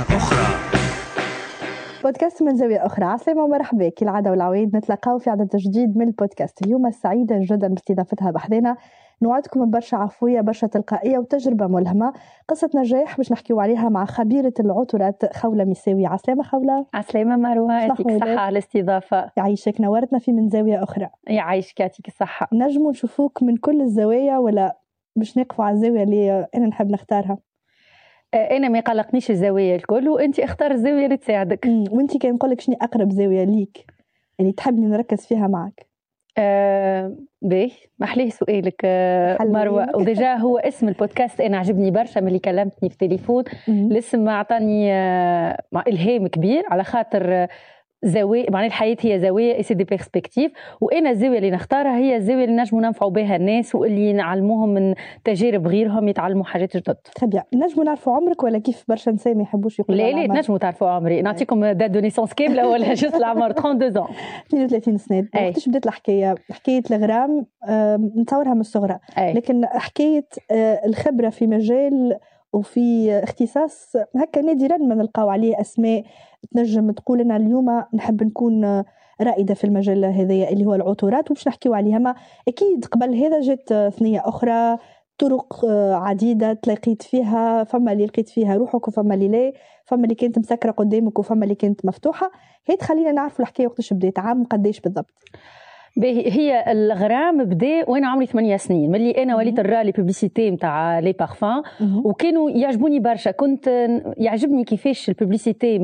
أخرى. بودكاست من زاوية أخرى. عسلامة ومرحبا، كالعادة والعوايد نتلاقاو في عدد جديد من البودكاست. اليوم سعيدة جدا باستضافتها بحذنا، نوعدكم برشا عفوية، برشا تلقائية وتجربة ملهمة، قصة نجاح باش نحكيو عليها مع خبيرة العطورات خولة ميساوي. عسلامة خولة. عسلامة مروة، يعطيك الصحة على الاستضافة. يعيشك، نورتنا في من زاوية أخرى. يعيشك، يعطيك الصحة. نجمو نشوفوك من كل الزوايا ولا باش نقفوا على الزاوية اللي أنا نحب نختارها؟ أنا ما يقلقنيش الزاوية الكل، وأنت اختار الزاوية اللي تساعدك. وأنت كان نقول لك شنو أقرب زاوية ليك اللي تحبني نركز فيها معك؟ باهي، محليه سؤالك مروة. و déjà هو اسم البودكاست أنا عجبني برشا ملي كلمتني في التليفون. الاسم أعطاني إلهام كبير على خاطر زاوية، معناها الحياة هي زاوية، c'est des perspectives، وأنا الزاوية اللي نختارها هي الزاوية اللي نجموا ننفعوا بها الناس واللي نعلموهم من تجارب غيرهم، يتعلموا حاجات جدد. très bien. نجموا نعرفوا عمرك ولا كيف برشا نساء ما يحبوش يقولوا؟ لا لا، نجموا تعرفوا عمري، نعطيكم date de naissance كاملة ولا juste العمر؟ 32 ans. 32 سنة. وقتاش بدات الحكاية؟ حكاية الغرام نتصورها من الصغرى، لكن حكاية الخبرة في مجال وفي اختصاص هكا نادرا ما نلقاو عليه أسماء تنجم تقول أنا اليوم نحب نكون رائدة في المجال هذايا اللي هو العطورات، وباش نحكيو عليها. ما أكيد قبل هذا جات ثنية أخرى، طرق عديدة تلاقيت فيها، فما اللي لقيت فيها روحك وفما اللي لا، فما اللي كانت مسكرة قدامك وفما اللي كانت مفتوحة. هي تخلينا نعرفوا الحكاية وقتاش بدات، عام قداش بالضبط؟ هي الغرام بدا وانا عمري 8 سنين، ملي انا وليت نرى les publicités نتاع les parfums وكانوا يعجبوني برشا. كنت يعجبني كيفاش ال publicité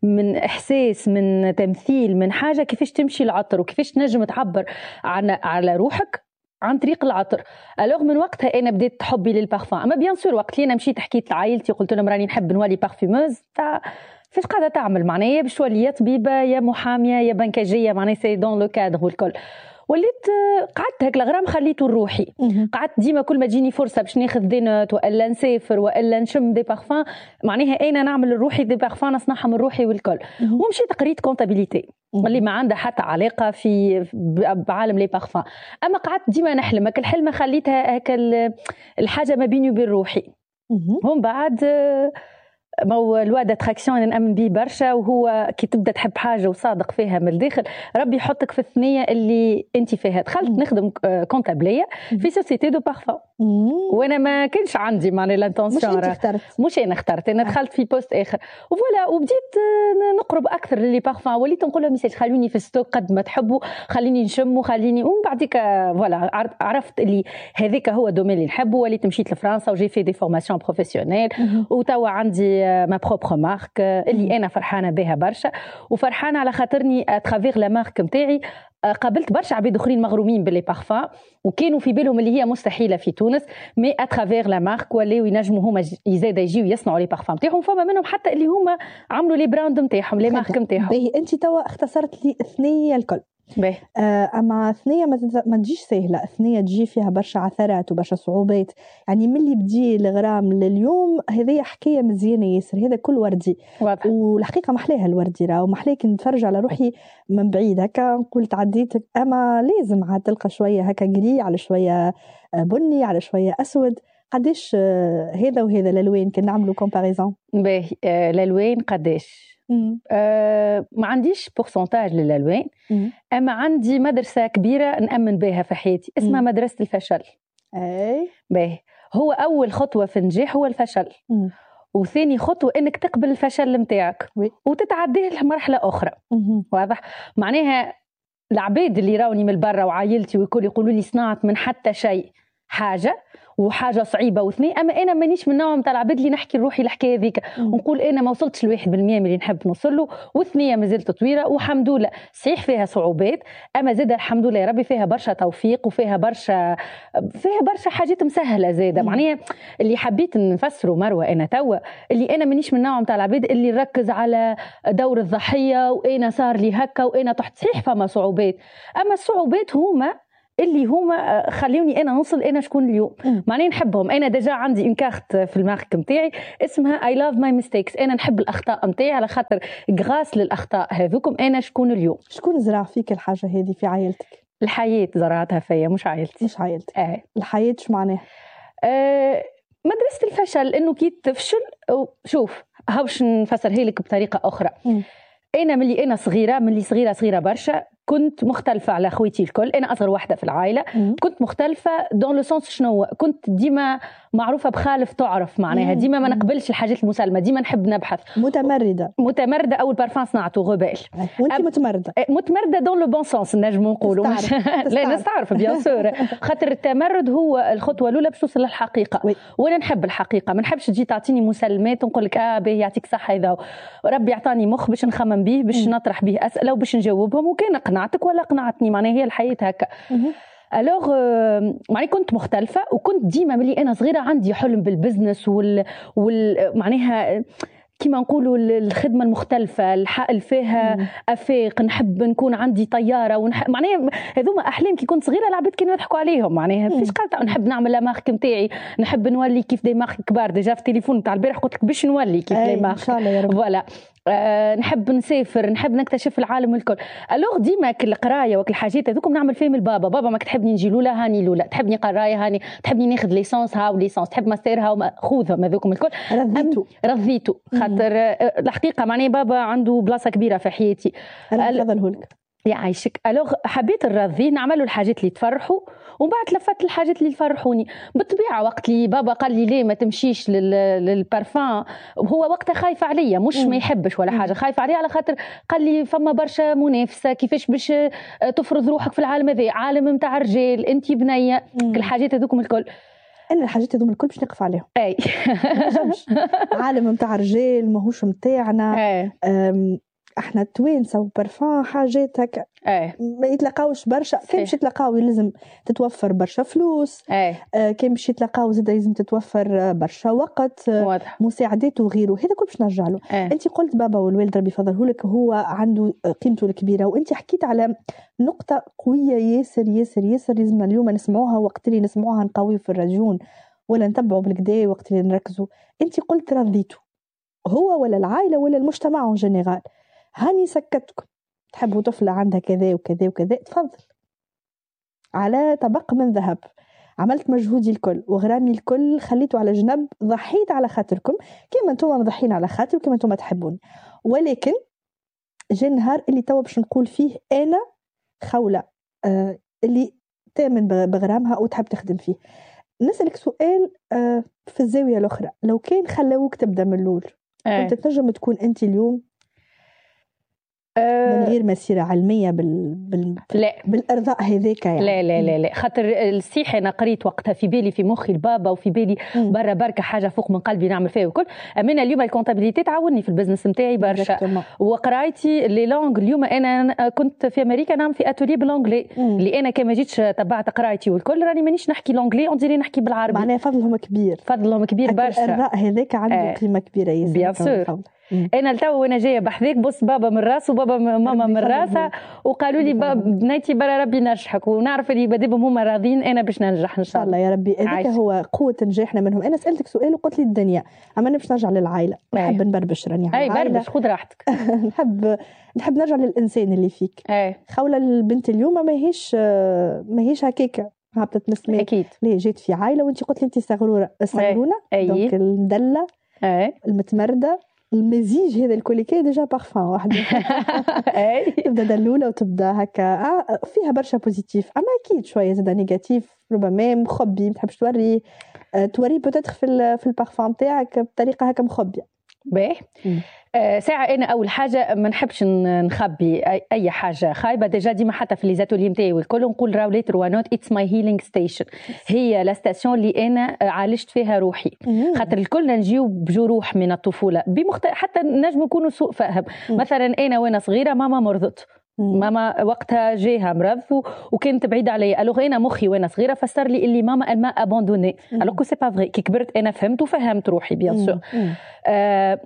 من احساس، من تمثيل، من حاجة، كيفاش تمشي العطر وكيفاش تنجم تعبر على روحك عن طريق العطر. alors من وقتها انا بديت حبي للبارفان. اما bien sûr وقت اللي انا مشيت حكيت لعائلتي قلت لهم راني نحب نولي parfumeuse، تاع فاش قاعدة تعمل؟ معناها يا باش تولي يا طبيبه يا محاميه يا بنكاجيه، معناها c'est dans le cadre والكل. وليت قعدت هيك الغرام خليته لروحي. قعدت ديما كل ما تجيني فرصة باش ناخذ des notes والا نسافر والا نشم des parfums، معناها انا نعمل لروحي des parfums، نصنعها من روحي والكل. ومشيت قريت comptabilité اللي ما عندها حتى علاقة في بعالم les parfums، اما قعدت ديما نحلم هاك الحلمة، خليتها هاك الحاجة ما بيني وبين روحي. ومن بعد ما هو loi d'attraction انا نامن به برشا، وهو كي تبدا تحب حاجة وصادق فيها من الداخل ربي يحطك في الثنية اللي انت فيها. دخلت نخدم comptable في société de parfum، وانا ما كانش عندي معناها l'intention. مش انت اخترت؟ مش انا اخترت، انا دخلت في poste اخر و voilà. وبديت نقرب اكثر ل les parfums، وليت نقول لهم message خلوني في stock قد ما تحبوا، خليني نشم وخليني. ومن بعديك voilà عرفت اللي هذاك هو domaine اللي نحبه. وليت مشيت لفرنسا و j'ai fait des formations professionnelles، وتوا عندي ma propre marque اللي انا فرحانة بها برشا، وفرحانه على خاطرني à travers la marque نتاعي قابلت برشا عباد اخرين مغرومين ب les parfums وكانوا في بالهم اللي هي مستحيلة في تونس، mais à travers la marque ولاو ينجموا هما زاده يجيو يصنعوا les parfums نتاعهم. فما منهم حتى اللي هما عملوا les brands نتاعهم، les marques نتاعهم. باهي، انت توا اختصرت لي ثنيه الكل. باهي. اما ثنيه ما تجيش سهله، ثنيه تجي فيها برشا عثرات وبرشا صعوبات. يعني من اللي بدي الغرام لليوم هذه حكاية مزيانه ياسر، هذا كل وردي. واضح. والحقيقة محلاها الوردي راه، ومحلاه كي نتفرج على روحي من بعيد هكا نقول تعديت، اما لازم عاد تلقى شوية هكا gris على شوية بني على شوية اسود. قداش هذا وهذا الالوان كي نعملوا comparaison؟ باهي، الالوان قداش؟ ما عنديش pourcentage للالوان، اما عندي مدرسه كبيرة نامن بها في حياتي اسمها مدرسه الفشل. باهي، هو اول خطوة في النجاح هو الفشل. وثاني خطوة انك تقبل الفشل نتاعك وتتعديه لمرحلة اخرى. واضح؟ معناها العباد اللي راوني من برا وعائلتي والكل يقولوا لي صنعت من حتى شيء حاجة وحاجه صعيبة واثنين، اما انا مانيش من النوع نتاع العباد اللي نحكي لروحي الحكاية هذيك ونقول انا ما وصلتش ل1% من اللي نحب نوصل له، والثنيه مازالت طويلة والحمد لله. صحيح فيها صعوبات، اما زاد الحمد لله يا ربي فيها برشا توفيق وفيها برشا حاجات مسهلة زاده. معناها اللي حبيت نفسره مروه انا توا اللي انا مانيش من النوع نتاع العباد اللي نركز على دور الضحية وانا صار لي هكا وانا تحت. صحيح فما صعوبات، اما الصعوبات هما اللي هما خلوني انا نوصل انا شكون اليوم. معناها نحبهم. انا déjà عندي une carte في ال marque نتاعي اسمها I love my mistakes. انا نحب الاخطاء نتاعي على خاطر grâce للاخطاء هذوكم انا شكون اليوم. شكون زرع فيك الحاجة هذه في عائلتك؟ الحياة زرعتها فيا، مش عائلتي. مش عائلتك. الحياة شو معناها؟ مدرسه الفشل، انه كي تفشل شوف باش نفسرها لك بطريقة اخرى. انا ملي انا صغيرة، ملي صغيرة صغيرة برشا، كنت مختلفة على خويتي الكل. انا اصغر واحدة في العائله. كنت مختلفة dans le sens شنو؟ كنت ديما معروفة بخالف تعرف، معناها ديما ما نقبلش الحاجات المسلمه، ديما نحب نبحث. متمرده. متمرده. اول بارفان صنعته rebelle. وانت متمرده. متمرده dans le bon sens نجم نقولوا. لا، نستعرف bien sûr، خاطر التمرد هو الخطوة الاولى باش توصل للحقيقه. وانا نحب الحقيقه، ما نحبش تجي تعطيني مسلمات ونقول لك اه باهي يعطيك صحه. اذا ربي عطاني مخ باش نخمم به، باش نطرح به اسئلة وباش نجاوبهم، وكان قنعتك ولا قنعتني، معناها هي الحياة هكا. alors معني كنت مختلفه، وكنت ديما ملي انا صغيرة عندي حلم بال business وال معناها كيما نقولوا الخدمة المختلفه، اللي فيها افاق. نحب نكون عندي طيارة معناها هذوما احلام كي كنت صغيره، العباد كانوا يضحكوا عليهم، معناها فيش قالت نحب نعمل la marque نتاعي، نحب نولي كيف des marques كبار. déjà في التليفون تاع البارح قلت لك باش نولي كيف les marques. ان شاء الله يا رب. voilà، نحب نسافر، نحب نكتشف العالم الكل. alors ديما كل القراية وكل الحاجات هذوكم نعمل فيهم البابا. بابا ما تحبني نجي لولا هاني لولا، تحبني قرايه هاني، تحبني ناخذ licence هاو licence، تحب ماستر هاو خذهم هذوكم الكل. رضيتو. رضيتو، خاطر الحقيقة معناها بابا عنده بلاصة كبيرة في حياتي. ربي لك. يعيشك. alors حبيت نرضيه، نعملوا الحاجات اللي تفرحوا، ومن بعد لفت الحاجات اللي يفرحوني. بالطبيعة وقت اللي بابا قال لي ليه ما تمشيش للبارفان، هو وقتها خايف عليا، مش ما يحبش ولا حاجه، خايف عليا على خاطر قال لي فما برشا منافسه، كيفاش باش تفرض روحك في العالم هذا، عالم نتاع رجال، انت بنيه، كل الحاجات هذوكم الكل. انا الحاجات هذوم الكل باش نقف عليهم. اي. عالم نتاع رجال ماهوش نتاعنا. احنا التوانسة وبرفان حاجات هكا ما يتلاقاوش برشا. كان باش يتلاقاو لازم تتوفر برشا فلوس. كان باش يتلاقاو زاد لازم تتوفر برشا وقت. مساعدات وغيره، هذا كل باش نرجع له. انت قلت بابا والوالد ربي يفضله لك، هو عنده قيمته الكبيره، وانت حكيت على نقطة قوية ياسر ياسر ياسر لازم اليوم نسمعوها، وقت اللي نسمعوها نقويو في الرجون ولا نتبعوا بالكدا وقت اللي نركزوا. انت قلت رضيته هو ولا العائلة ولا المجتمع en général. هاني سكتكم، تحبوا طفلة عندها كذا وكذا وكذا، تفضل على طبق من ذهب. عملت مجهودي الكل وغرامي الكل خليته على جنب، ضحيت على خاطركم كما انتم مضحين على خاطر وكما انتم تحبوني. ولكن جا النهار اللي توا باش نقول فيه انا خولة اللي تامن بغرامها وتحب تخدم فيه. نسألك سؤال في الزاوية الأخرى، لو كان خلوك تبدأ من الأول كنت تنجم تكون أنت اليوم من غير مسيرة علمية لا. بالإرضاء هذاك يعني؟ لا لا لا لا، خاطر الصيح أنا قريت وقتها في بالي في مخي البابا وفي بالي برا بركة حاجة فوق من قلبي نعمل فيها وكل. أما اليوم ال comptabilité تعاوني في ال business نتاعي برشا، وقرايتي les langues. اليوم أنا كنت في أمريكا نعمل في atelier بال anglais، اللي أنا كما جيتش تبعت قرايتي والكل راني مانيش نحكي l'anglais، on dirait نحكي بالعربي. معناها فضلهم كبير، فضلهم كبير برشا. الإرضاء هذاك عنده قيمة كبيرة ياسر. bien sûr. انا لتو وانا جاية بحذاك بص بابا من راسه وبابا ماما من راسها، وقالوا لي بنيتي برا ربي نجحك، ونعرف اللي بديبهم هما راضيين انا باش ننجح ان شاء الله يا ربي. هذاك هو قوة نجاحنا منهم. انا سالتك سؤال وقلت لي الدنيا، اما انا باش نرجع للعائلة، نحب نبربش راني على العائلة. اي بربش، خذ راحتك. نحب نرجع للانسان اللي فيك. خوله البنت اليوم ماهيش هكاكه هبطت من السماء. اكيد. ليه جيت في عائلة، وانت قلت لي انت صغروره الصغرونه، donc المدله المتمردة، المزيج هذا الكل كي déjà parfum واحد تبدا دلولة وتبدا هكا فيها برشا positif، اما اكيد شوية زاد négatif، ربما مخبي ما تحبش توري، توري peut-être في البارفان تاعك بطريقة هكا مخبيه. باهي. ساعة أنا أول حاجة ما نحبش نخبي أي حاجة خايبة. déjà ديما حتى في les ateliers نتاعي والكل نقول راهو les trois notes it's my healing station، هي la station اللي أنا عالجت فيها روحي. خاطر الكل نجيو بجروح من الطفولة حتى نجم نكونوا سوء فهم. مثلا أنا وأنا صغيرة ماما مرضت، ماما وقتها جاها مرض وكانت بعيدة عليا. alors انا مخي وانا صغيرة فسر لي اللي ماما elle m'a abandonnée، alors que c'est pas vrai. كي كبرت انا فهمت وفهمت روحي bien sûr.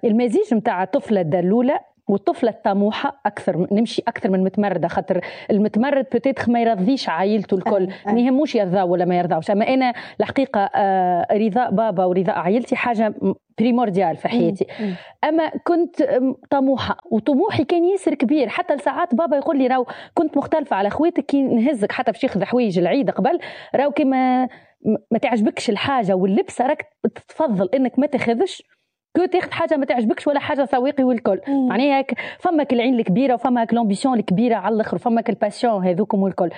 المزيج نتاع الطفلة الدلوله والطفله الطموحة اكثر، نمشي اكثر من متمرده، خاطر المتمرد peut-être ما يرضيش عائلته الكل، ما يهموش يرضاو ولا ما يرضاوش. اما انا الحقيقة رضاء بابا ورضاء عائلتي حاجة primordiale في حياتي. اما كنت طموحه وطموحي كان ياسر كبير، حتى لساعات بابا يقول لي راهو كنت مختلفة على خواتك كي نهزك حتى باش ياخذ حوايج العيد قبل، راهو كي ما تعجبكش الحاجة واللبسه راك تفضل انك ما تاخذش que تاخذ حاجة ما تعجبكش ولا حاجة سواقي والكل. معناها فما العين الكبيرة وفما l'ambition الكبيرة على الاخر وفما ال passion هذوكم والكل.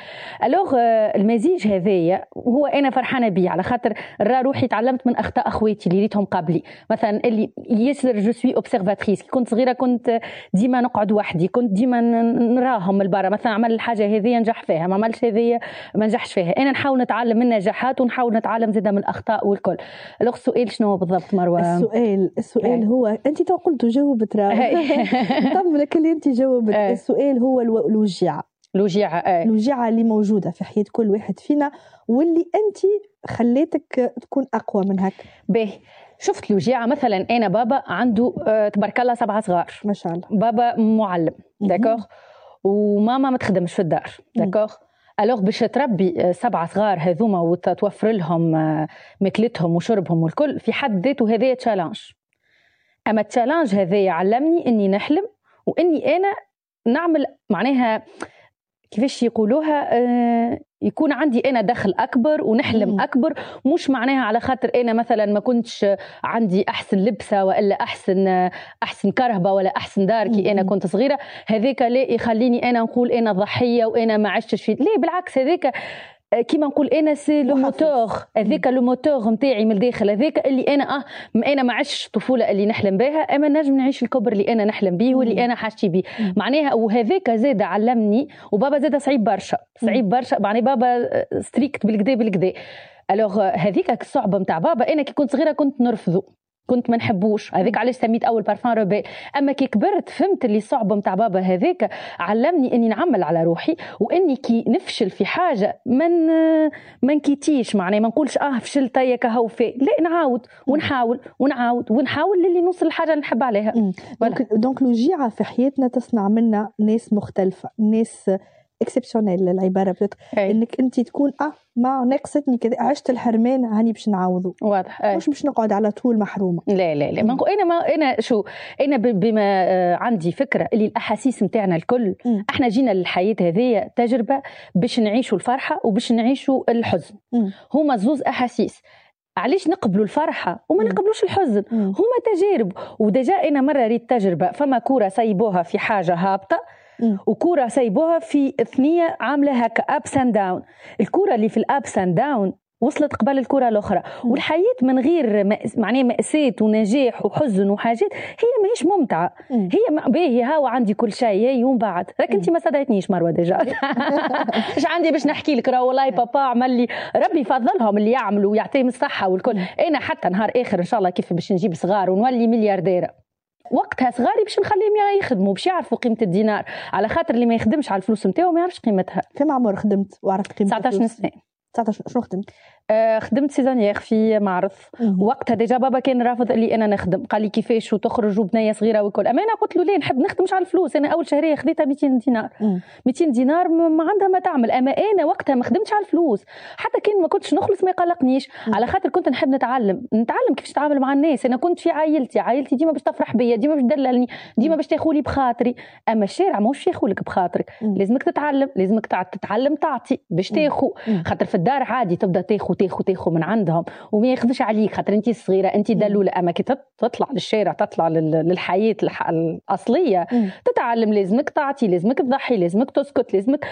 alors المزيج هذايا هو انا فرحانة بيه، على خاطر راه روحي تعلمت من اخطاء اخواتي اللي ريتهم قبلي. مثلا اللي ياسر je suis observatrice، كي كنت صغيرة كنت ديما نقعد وحدي، كنت ديما نراهم من برا، مثلا عمل الحاجة هذه نجح فيها، ما عملش هذه ما نجحش فيها. انا نحاول نتعلم من النجاحات ونحاول نتعلم زاده من الاخطاء والكل. alors السؤال شنو بالضبط مروه؟ السؤال هو انت تو قلت جاوبت، راه طمنك اللي انت جاوبت. السؤال هو الوجيعه، الوجيعه اللي موجودة في حياة كل واحد فينا واللي انت خليتك تكون اقوى من هكا. باهي، شفت الوجيعه مثلا انا بابا عنده تبارك الله 7 صغار ما شاء الله، بابا معلم d'accord، وماما ما تخدمش في الدار d'accord. alors باش تربي 7 صغار هذوما وتوفر لهم ماكلتهم وشربهم والكل، في حد ذاته هذايا challenge. اما ال challenge هذايا علمني اني نحلم واني انا نعمل، معناها كيفاش يقولوها، يكون عندي انا دخل اكبر ونحلم اكبر. مش معناها على خاطر انا مثلا ما كنتش عندي احسن لبسه والا احسن كرهبه ولا احسن دار كي انا كنت صغيرة، هذاك لا يخليني انا نقول انا ضحية وانا ما عشتش في، لا بالعكس، هذاك كيما نقول انا c'est le moteur، هذاك le moteur نتاعي من الداخل، هذاك اللي انا انا ما عشتش الطفولة اللي نحلم بها، اما نجم نعيش الكبر اللي انا نحلم به واللي انا حاجتي به. معناها وهذاك زاد علمني. وبابا زاد صعيب برشا، صعيب برشا، معناها بابا strict بالكدا بالكدا. alors هذيك الصعبة نتاع بابا انا كي كنت صغيرة كنت نرفضه، كنت ما نحبوش، هذيك علاش سميت اول parfum rebelle. اما كي كبرت فهمت اللي صعبة نتاع بابا هذاك علمني اني نعمل على روحي، واني كي نفشل في حاجة ما نكيتيش، معناها ما نقولش فشلت يا كهو في، لا نعاود ونحاول ونعاود ونحاول للي نوصل للحاجة اللي نحب عليها. donc الوجيعه في حياتنا تصنع منا ناس مختلفة، ناس exceptionnels العبارة بتت. انك انت تكون ما ناقصتني كذا، عشت الحرمان هاني باش نعوضه. واضح. مش باش نقعد على طول محرومة. لا لا لا، ما انا ما انا شو انا بما عندي فكرة اللي الاحاسيس نتاعنا الكل، احنا جينا للحياة هذه تجربه باش نعيشوا الفرحة وباش نعيشوا الحزن. هما زوز احاسيس. علاش نقبلوا الفرحة وما نقبلوش الحزن؟ هما تجارب. و déjà انا مرة ريت تجربه، فما كورة سايبوها في حاجة هابطة وكوره سايبوها في ثنيه عامله هكا ups and down. الكورة اللي في ال ups and down وصلت قبل الكره الاخرى. والحياة من غير معناها مأساة ونجاح وحزن وحاجات هي ماهيش ممتعة. هي باهي هاو عندي كل شيء يوم بعد، راك انت ما صدقتنيش مروه déjà. اش عندي باش نحكي لك؟ راه والله بابا عمل لي، ربي يفضلهم اللي يعملوا ويعطيهم الصحة والكل. انا حتى نهار اخر ان شاء الله كيف باش نجيب صغار ونولي مليارديره، وقتها صغاري باش نخليهم يخدموا باش يعرفوا قيمة الدينار، على خاطر اللي ما يخدمش على الفلوس نتاعو ما يعرفش قيمتها. كم عمر خدمت وعرفت قيمة 19 سنة. 19 شنو خدمت؟ خدمت saisonnière في معرض. وقتها déjà بابا كان رافض اللي انا نخدم، قال لي كيفاش وتخرج وبنيه صغيرة وكل. اما انا قلت له ليه نحب نخدم مش على الفلوس. انا اول شهرية خذيتها 200 دينار. 200 دينار ما عندها ما تعمل. اما انا وقتها ما خدمتش على الفلوس، حتى كان ما كنتش نخلص ما يقلقنيش، على خاطر كنت نحب نتعلم كيفاش نتعامل مع الناس. انا كنت في عائلتي ديما باش تفرح بيا، ديما باش تدللني، ديما باش تاخولي بخاطري. اما الشارع ماهوش ياخولك بخاطرك، لازمك تتعلم، لازمك تتعلم تعطي باش تاخو. خاطر في الدار عادي تبدا تاخو تاخو تاخو من عندهم وما ياخذوش عليك، خاطر انت صغيرة انت دلوله. اما كي تطلع للشارع، تطلع للحياة الاصلية، تتعلم، لازمك تعطي، لازمك تضحي، لازمك تسكت، لازمك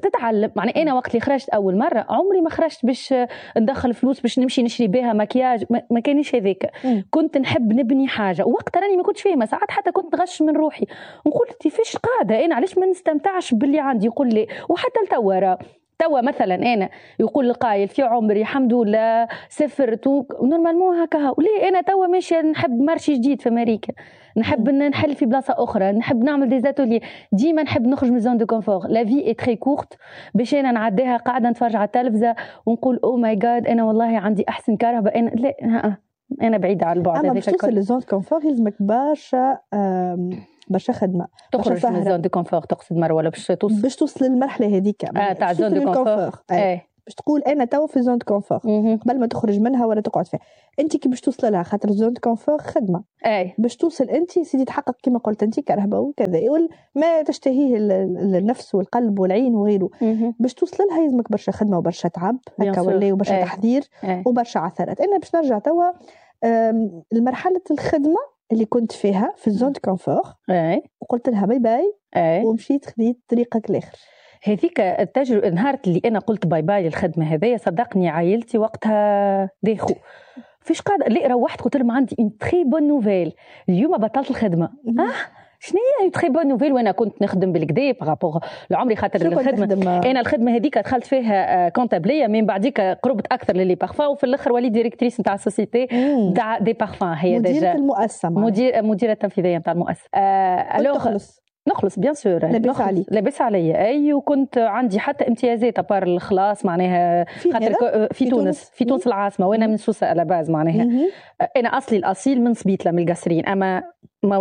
تتعلم. يعني انا وقت اللي خرجت اول مرة عمري ما خرجت باش ندخل فلوس باش نمشي نشري بها مكياج، ما كانش هذاك. كنت نحب نبني حاجة. وقت راني ما كنتش فاهمه، ساعات حتى كنت نغش من روحي نقول كيفاش قاعدة انا، علاش ما نستمتعش باللي عندي؟ يقول لي وحتى لتوا توا مثلا انا يقول القايل في عمري الحمد لله سافرت normalement هكا، وليه انا توا ماشية نحب marché جديد في امريكا، نحب نحل في بلاصة اخرى، نحب نعمل des ateliers، ديما نحب نخرج من zone de confort. la vie est très courte باش انا نعديها قاعدة نتفرج على التلفزة ونقول oh my God انا والله عندي احسن كهرباء. انا لا، انا بعيدة على البعد. اما باش توصل ل zone confort يلزمك برشا برشا خدمة. تخرج من zone de confort تقصد مروه، ولا باش توصل باش توصل للمرحلة هذيك تاع zone de confort؟ باش تقول انا توا في zone de confort قبل ما تخرج منها ولا تقعد فيها. انت كي باش توصل لها، خاطر zone de confort خدمة. باش توصل انت سيدي تحقق كما قلت انت كرهبه وكذا ما تشتهيه النفس والقلب والعين وغيره. باش توصل لها يلزمك برشا خدمة وبرشا تعب هكا ولا، وبرشا تحضير وبرشا عثرات. انا باش نرجع توا المرحلة الخدمة اللي كنت فيها في ال zone de confort وقلت لها bye bye ومشيت خذيت طريقك الاخر. هذيك التجربة، نهار اللي انا قلت bye bye للخدمة هذايا، صدقني عائلتي وقتها داخو، فيش قاعده. لا، روحت قلت لهم عندي une très bonne nouvelle، اليوم بطلت الخدمه. شنو هي très bonne nouvelle؟ وانا كنت نخدم بالقدا par rapport لعمري، خاطر الخدمه، انا الخدمة هذيك دخلت فيها comptable، من بعديك قربت اكثر ل les parfums، وفي الاخر وليت directrice نتاع ال société نتاع des parfums. هي مديره المؤسسه. مديره التنفيذية نتاع المؤسسه. alors تخلص؟ نخلص bien sûr. لاباس عليك؟ لاباس عليا اي، وكنت عندي حتى امتيازات à part الخلاص معناها. في خاطر في تونس، في تونس العاصمه، وانا من سوسة à la base معناها. انا اصلي الاصيل من سبيطله، من القصرين، اما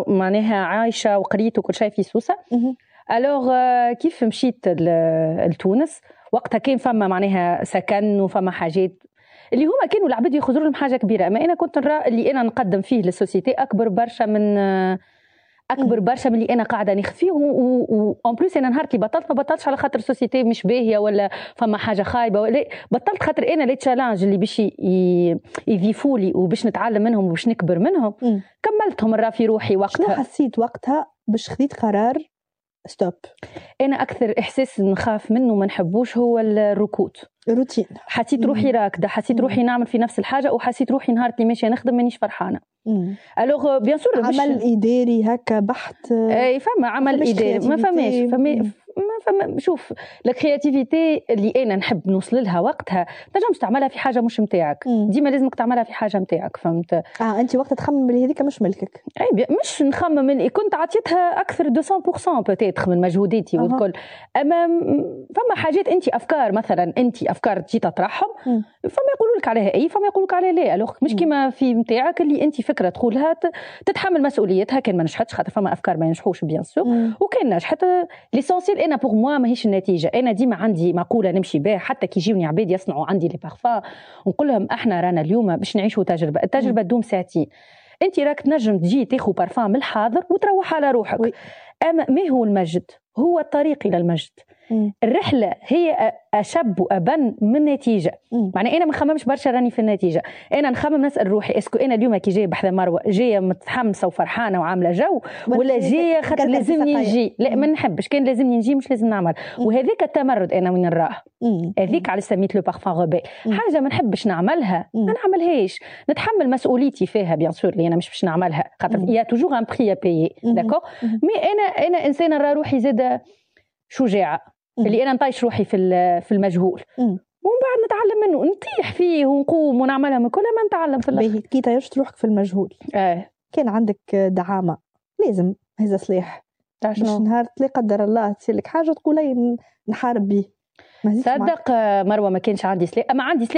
معناها عايشه وقريت وكل شيء في سوسه. alors كيف مشيت لتونس وقتها كان فما معناها سكن وفما حاجات اللي هما كانوا العباد يخزروا لهم حاجة كبيره، اما انا كنت نرى اللي انا نقدم فيه لل société اكبر برشا من اللي انا قاعدة ناخذ فيه. و en plus انا نهار اللي بطلت، ما بطلتش على خاطر ال société مش باهيه ولا فما حاجة خايبه، ولا بطلت خاطر انا les challenges اللي باش يضيفوا لي وباش نتعلم منهم وباش نكبر منهم كملتهم نرى في روحي وقتها. شنو حسيت وقتها باش خذيت قرار stop؟ انا اكثر احساس نخاف منه وما نحبوش هو الركود. روتين. حسيت روحي راكده، حسيت روحي نعمل في نفس الحاجه، وحسيت روحي نهار اللي ماشية نخدم مانيش فرحانه. alors bien sûr عمل اداري هكا بحت. اي، فما عمل اداري، ما فماش، فما ما فما. شوف، la créativité اللي انا نحب نوصل لها وقتها تنجمش تعملها في حاجة مش نتاعك. ديما لازمك تعملها في حاجة نتاعك، فهمت؟ اه، انت وقتها تخمم اللي هذيك مش ملكك. اي، مش نخمم، اللي كنت عطيتها اكثر 200% peut-être من مجهوداتي والكل، اما فما حاجات انت افكار مثلا، انت افكار تجي تطرحهم، فما يقولوا لك عليها اي، فما يقولوا لك عليها لا. alors مش كيما في نتاعك اللي انت فكرة تقولها تتحمل مسؤوليتها كان ما نجحتش، خاطر فما افكار ما ينجحوش bien sûr، وكان نجحت l'essentiel انا pour moi ماهيش النتيجه. انا ديما عندي مقولة نمشي بها، حتى كي يجيوني عباد يصنعوا عندي les parfums ونقول لهم احنا رانا اليوم باش نعيشوا تجربه، التجربة تدوم ساعتين. انت راك تنجم تجي تاخذ بارفان من الحاضر وتروح على روحك. اما ما هو المجد؟ هو الطريق الى المجد. الرحلة هي اشب وابن من النتيجه. معناها انا ما نخممش برشا راني في النتيجه، انا نخمم نسال روحي est-ce que انا اليوم كي جاية بحذا مروه جاية متحمسة وفرحانه وعامله جو، ولا جاية خاطر لازمني نجي؟ لا، ما نحبش كان لازمني نجي، مش لازم نعمل. وهذيك التمرد انا وين نراه، هذيك على سميت le parfum rebelle. حاجة ما نحبش نعملها ما نعملهاش، نتحمل مسؤوليتي فيها bien sûr اللي انا مش باش نعملها، خاطر il y a toujours un prix à payer، d'accord؟ mais انا انسانه نرى روحي زاده شجاعه، اللي انا نطيش روحي في المجهول ومن بعد نتعلم منه، نطيح فيه ونقوم ونعملها من كل ما نتعلم في الاخر. كي طيشت روحك في المجهول كان عندك دعامه؟ لازم هذا سلاح باش نهار لا قدر الله تصير لك حاجة تقول نحارب به. صدق مروه، ما كانش عندي سلاح، اما عندي سلاح.